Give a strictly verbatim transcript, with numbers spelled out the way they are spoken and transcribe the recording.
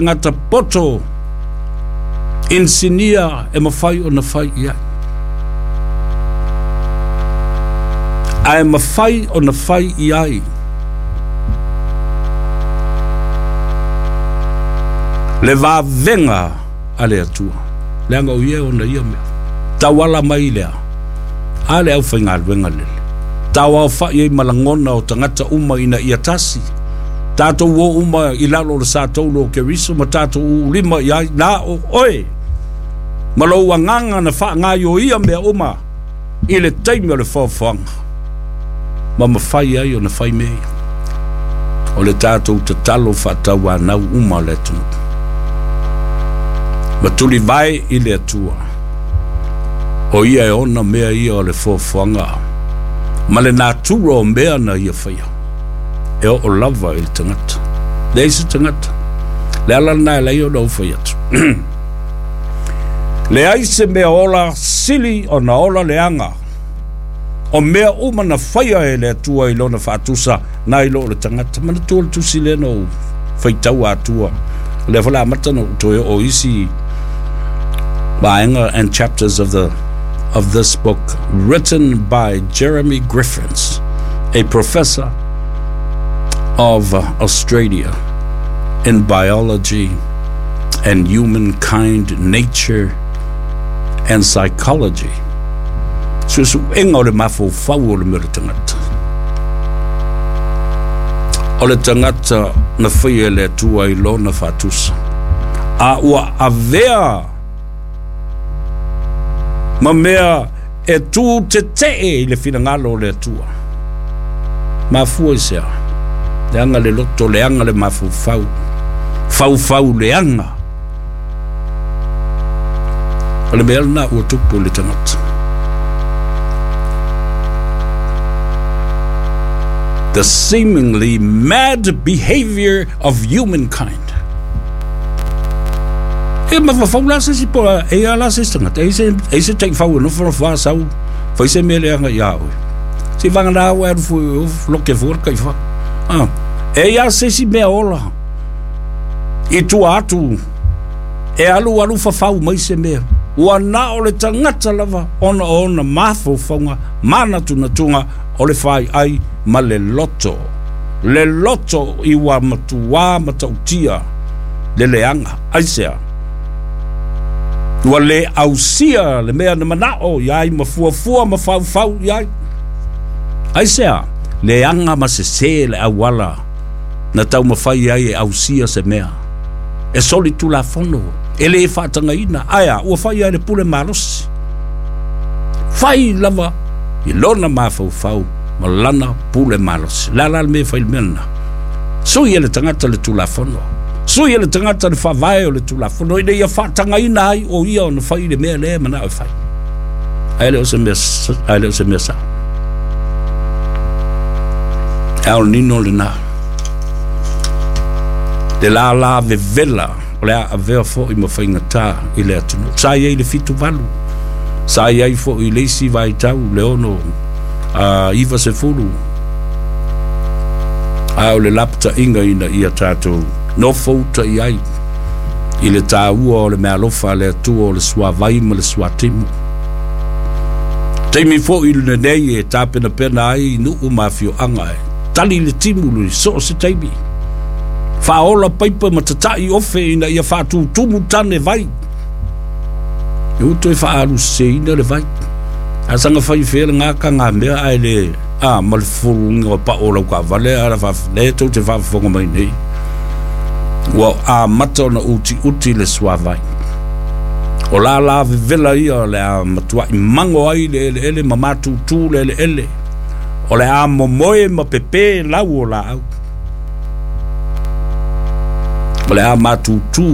tagata poto inisinia e mafai ona fai i ai, ae mafai ona fai i ai le vavega a le Atua, leaga o ia e ona ia mea. Tauala mai lea a le aufaigaluega lele, tauaofa'i ai ma lagona o tagata uma ina ia tasi, tatou o uma i lalo o le satauro o Keriso ma tatou uulima i ai na o oe ma lou agaga na faagaioia mea uma i le taimi o le foafoaga ma mafai ai ona fai mea ia. O le tatou tatalo faatauanau uma o le atunuu ma tulivae i le Atua, o ia e ona mea ia o le foafoaga ma le natura o mea na ia faia e oo lava i le tagata. Leai se tagata, le ala lena e leai ona ou fai atu. Leai se mea ola sili ona ola leaga o mea uma na faia e le Atua i lona faatusa nai lo o le tagata. Manatua le tusi lea na ou faitau atua, o lea foi o le a amata ona ou toe oo isi vaega and chapters of the of this book written by Jeremy Griffiths, a professor of Australia in biology and humankind, nature and psychology. Suesuega o le mafaufau o le mea o le tagata. O le tagata na faia e le Atua i lona faatusa, a ua avea ma mea e tu tetee i le finagalo o le Atua. Mafua i sea, leaga le loto, leaga le mafaufau, faufau leaga. O le mea lena ua tupu i le tagata. The seemingly mad behavior of humankind. E mafaufau la se isi po e ia la se isi tagata, e i se, e i se taifau e nofonofo a sau, fai se mea leaga iā oe. Se i vagana ua alu fua, loke fua le kaifa. Ah, e ia se isi mea ola i tua atu e alu alu fafau mai se mea. Ua na o le tagata lava ona o ona mafaufauga manatunatuga o le faiai ma le loto. Le loto i ua matuā matautia le leaga. Aisea? Ua le ausia le mea na manao i ai ma fuafua ma faufau i ai. Aisea? Leaga ma sesē le auala na taumafai ai e ausia se mea. E soli tulafono, e le faatagaina, ae a, ua fai ai le pule malosi. Fai lava i lona mafaufau ma lana pule malosi. Le a la le mea e fai i le mea lena? Sui e le tagata le tulafono. Sui e le tagata le faavae o le tulafono ina ia faatagaina ai o ia ona fai le mea lea e manao e fai. Ae le o se mea, ae le o se mea sao. E aonino lena. Le lālā vevela o le a avea foi ma faigata i le atunuu. Sa i ai le fitu valu, sa i ai foi i le isi vaitau le ono a iva sefulu, a o le lapataiga ina ia tatou nofouta i ai i le tāua o le meaalofa a le Atua o le suavai ma le suatimu. Taimi foi lenei e tapenapena ai nuu ma afioaga e tali le timu i so o se taimi. Faaola paipa ma tata'i ofe ina ia faatutumu tane vai. E uto e faaaluseseina le vai. A saga fai fea le gaka ngā mea ae le a ma le fufuluina o pao o lau taavale a la faaf lea tou te faafofoga mai nei. Ua amata ona utiuti le suavai. O lālā vevela ia o le a matua'i mago ai le eleele ma matutū le eleele. O le a momoe ma pepē lau o laau. O le a matutū